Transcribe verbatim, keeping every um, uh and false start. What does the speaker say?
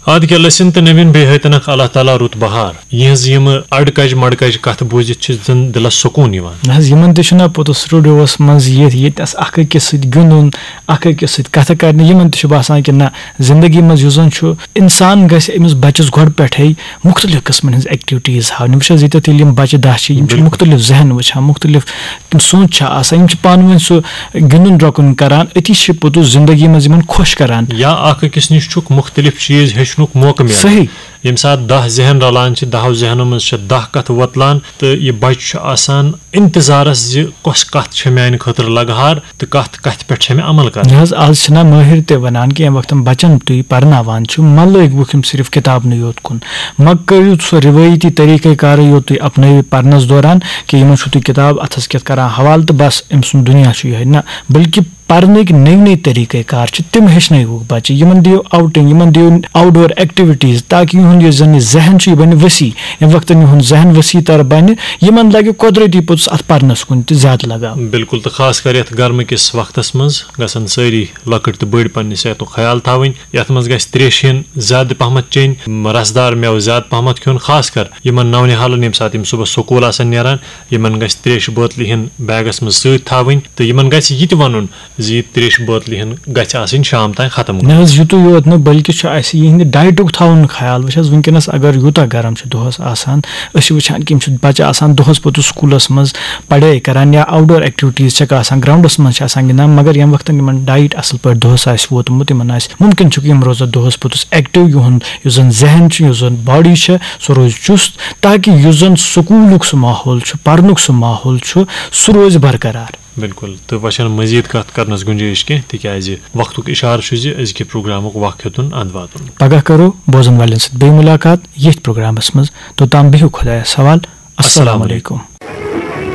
آد کیٛاہ لٔسِن تہٕ نٔوِن بیٚیہِ ہٲتنکھ اللہ تعالیٰ رُت بہار۔ یِہٕنٛز یِمہٕ اَڑکَجہِ مَڑکَجہِ کَتھٕ بوٗزِتھ چھِ زَن دِلَس سکوٗن یِوان۔ نہ حظ، یِمَن تہِ چھُنہ پوٚتُس سٹوڈیوَس منٛز یِتھ ییٚتہِ اَس اَکھ أکِس سۭتۍ گِنٛدُن، اَکھ أکِس سۭتۍ کَتھٕ کَرنہِ، یِمَن تہِ چھُ باسان کہِ نہ، زِندگی منٛز یُس زَن چھُ، اِنسان گژھِ أمِس بَچَس گۄڈٕ پٮ۪ٹھَے مُختلِف قٕسمَن ہٕنٛز ایکٹیوِٹیٖز ہاونہِ۔ بہٕ چھُس ییٚتٮ۪تھ ییٚلہِ یِم بَچہِ دَہ چھِ، یِم چھِ بِلکُل۔ مُختلِف ذہن وٕچھان، مُختلِف تِم سونٛچ چھِ آسان، یِم چھِ پانہٕ ؤنۍ سُہ گِنٛدُن درٛۄکُن کَران، أتی چھِ پوٚتُس زِندگی منٛز یِمَن خۄش کَران۔ یا اَکھ أکِس نِش چھُکھ مُختلِف چیٖز ہیٚچھنُک موقعہٕ میلان۔ صحیح۔ ییٚمہِ ساتہٕ دَہ ذہن رَلان چھِ، دَہَو ذہنو منٛز چھِ دَہ کَتھٕ وۄتلان، تہٕ یہِ بَچہِ چھُ آسان اِنتظارَس زِ کۄس کَتھ چھےٚ میٛانہِ خٲطرٕ لَگہٕ ہار تہٕ کَتھ، کَتھِ پٮ۪ٹھ چھےٚ مےٚ عمل کَرٕنۍ۔ نہ حظ، آز چھِنہ مٲہِر تہِ وَنان کہِ ییٚمہِ وقتہٕ بَچَن تُہۍ پَرناوان چھِو، مہ لٲگۍ وُکھ یِم صرف کِتابنٕے یوت کُن، مہ کٔرِو سُہ رِوٲیتی طریٖقہٕ کارٕے یوت تُہۍ اَپنٲوِو پَرنَس دوران کہِ یِمَن چھُو تُہۍ کِتاب اَتھَس کٮ۪تھ کَران حوالہٕ تہٕ بَس، أمۍ سُنٛد دُنیا چھُ یِہوٚے۔ نہ، بلکہِ پرنٕکۍ نٔوۍ نٔوۍ طریٖقہٕ کار چھِ، تِم ہیٚچھنٲیوُکھ بچہِ، یِمن دِیِو آوٹنگ، یِمن دِیِو آوٹ ڈور ایکٹیویٹیز، تاکہِ یِہُنٛد یُس زن یہِ ذہن چھُ، یہِ بنہِ وسیع۔ ییٚمہِ وقتہٕ یِہُنٛد ذہن وسیع تر بنہِ، یِمن لگہِ قۄدرتی پوٚتُس اتھ پرنس کُن تہِ زیادٕ لگاو۔ بِلکُل، تہٕ خاص کر یتھ گرمہٕ کِس وقتس منٛز گژھن سٲری لۄکٕٹۍ تہٕ بٔڑۍ پننہِ صحتُک خیال تھاوٕنۍ۔ یتھ منٛز گژھِ تریش ہن زیادٕ پہمتھ چیٚنۍ، رسدار مٮ۪وٕ زیادٕ پہمتھ کھیوٚن، خاص کر یِمن نونہالن، ییٚمہِ ساتہٕ یِم صبحس سکوٗل آسن نیران، یِمن گژھِ تریشہِ بٲتلہِ ہن بیگس منٛز سۭتۍ تھاوٕنۍ، تہٕ یِمن گژھِ یہِ تہِ ونُن زِ یہِ تریشہِ بٲتلہِ ہن گژھِ آسٕنۍ شام تام ختم گٔمٕژ۔ نہ حظ، یُتُے یوت نہٕ، بلکہِ چھُ اسہِ یِہنٛدِ ڈایٹُک تھاوُن خیال۔ وٕچھ حظ، وٕنکیٚنس اگر یوٗتاہ گرم چھُ دۄہس آسان، أسۍ چھِ وٕچھان کہِ یِم چھِ بچہِ آسان دۄہس پوٚتُس سکوٗلس منٛز پڑٲے کران یا آوٹ ڈور ایکٹیویٹیز چھکھ آسان، گراؤنڈس منٛز چھِ آسان گِنٛدان، مگر ییٚمہِ وقتہٕ یِمن ڈایٹ اصل پٲٹھۍ دۄہس آسہِ ووتمُت، یِمن آسہِ مُمکِن چھُ کہِ یِم روزن دۄہس پوٚتُس ایکٹیو، یِہُنٛد یُس زن ذہن چھُ، یُس زن باڈی چھِ، سُہ روزِ چُست، تاکہِ یُس زن سکوٗلُک سُہ ماحول چھُ، پرنُک سُہ ماحول چھُ، سُہ روزِ برقرار۔ بِلکُل، تہٕ وۄنۍ چھَنہٕ مزید کتھ کرنس گُنجٲیِش کینٛہہ، تِکیازِ وقتُک اِشارٕ چھُ زِ أزکہِ پروگرامُک وق ہیوٚتُن اند واتُن۔ پگاہ کرو بوزن والٮ۪ن سۭتۍ بیٚیہِ مُلاقات ییٚتھۍ پروگرامس منٛز۔ توٚتام بِہِو خۄدایس حوال۔ السلام السلام علیکم۔ علیکم۔